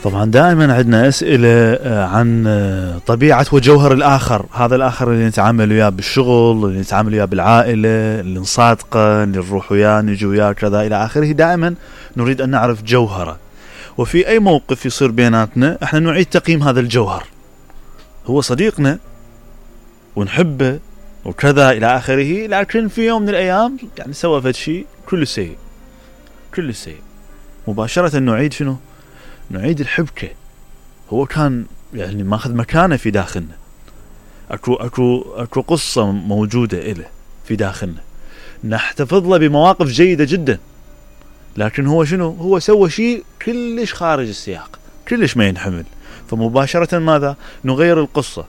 طبعا دائما عندنا أسئلة عن طبيعة وجوهر الآخر، هذا الآخر اللي نتعامل وياه بالشغل، اللي نتعامل وياه بالعائلة، اللي نصادقه، اللي نروح وياه نجي وياه كذا إلى آخره. دائما نريد أن نعرف جوهره، وفي أي موقف يصير بيناتنا احنا نعيد تقييم هذا الجوهر. هو صديقنا ونحبه وكذا إلى آخره، لكن في يوم من الأيام يعني سوى فد شيء كل سيء مباشرة نعيد شنو؟ نعيد الحبكة. هو كان يعني ماخذ مكانه في داخلنا، اكو قصة موجودة إله في داخلنا، نحتفظ له بمواقف جيدة جدا، لكن هو شنو؟ هو سوى شيء كلش خارج السياق، كلش ما ينحمل. فمباشرة ماذا؟ نغير القصة.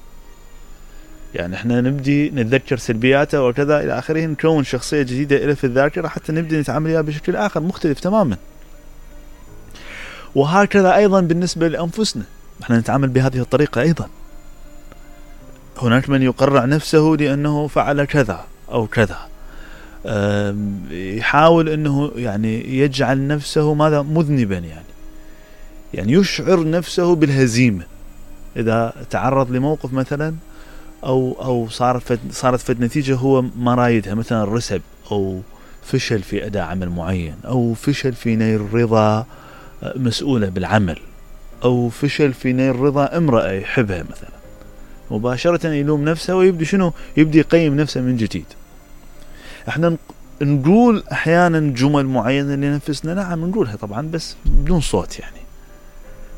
يعني احنا نبدي نتذكر سلبياته وكذا إلى آخره، نكون شخصية جديدة إله في الذاكرة حتى نبدي نتعامل وياه بشكل آخر مختلف تماما. وهكذا أيضا بالنسبة لأنفسنا، احنا نتعامل بهذه الطريقة أيضا. هناك من يقرع نفسه لأنه فعل كذا أو كذا، يحاول أنه يعني يجعل نفسه ماذا؟ مذنبا، يعني يشعر نفسه بالهزيمة إذا تعرض لموقف مثلا أو صارت فد نتيجة هو ما رايدها، مثلا رسب أو فشل في أداء عمل معين، أو فشل في نيل رضا مسؤولة بالعمل، أو فشل في نيل رضا امرأة يحبها مثلا. مباشرة يلوم نفسه ويبدي شنو؟ يبدي يقيم نفسه من جديد. احنا نقول احيانا جمل معينة لنفسنا، نعم نقولها طبعا بس بدون صوت، يعني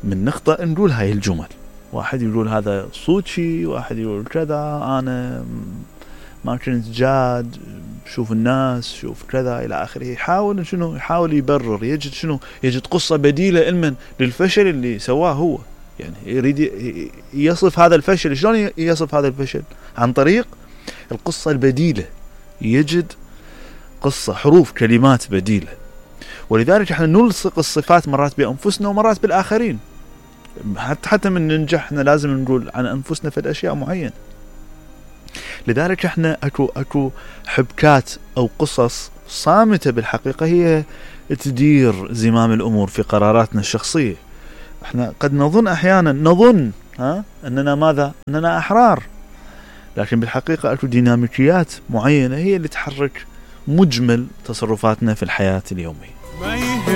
من نخطأ نقول هاي الجمل. واحد يقول هذا صوتي، واحد يقول كذا، انا ما كنت جاد، شوف الناس، شوف كذا الى اخره. يحاول شنو؟ يحاول يبرر، يجد شنو؟ يجد قصة بديلة المن للفشل اللي سواه هو. يعني يريد يصف هذا الفشل. شلون يصف هذا الفشل؟ عن طريق القصة البديلة، يجد قصة، حروف، كلمات بديلة. ولذلك احنا نلصق الصفات مرات بأنفسنا ومرات بالآخرين. حتى من ننجح احنا لازم نقول عن أنفسنا في الأشياء معينة. لذلك احنا اكو حبكات او قصص صامتة بالحقيقة هي تدير زمام الامور في قراراتنا الشخصية. احنا قد نظن احيانا اننا ماذا؟ اننا احرار، لكن بالحقيقة اكو ديناميكيات معينة هي اللي تحرك مجمل تصرفاتنا في الحياة اليومية.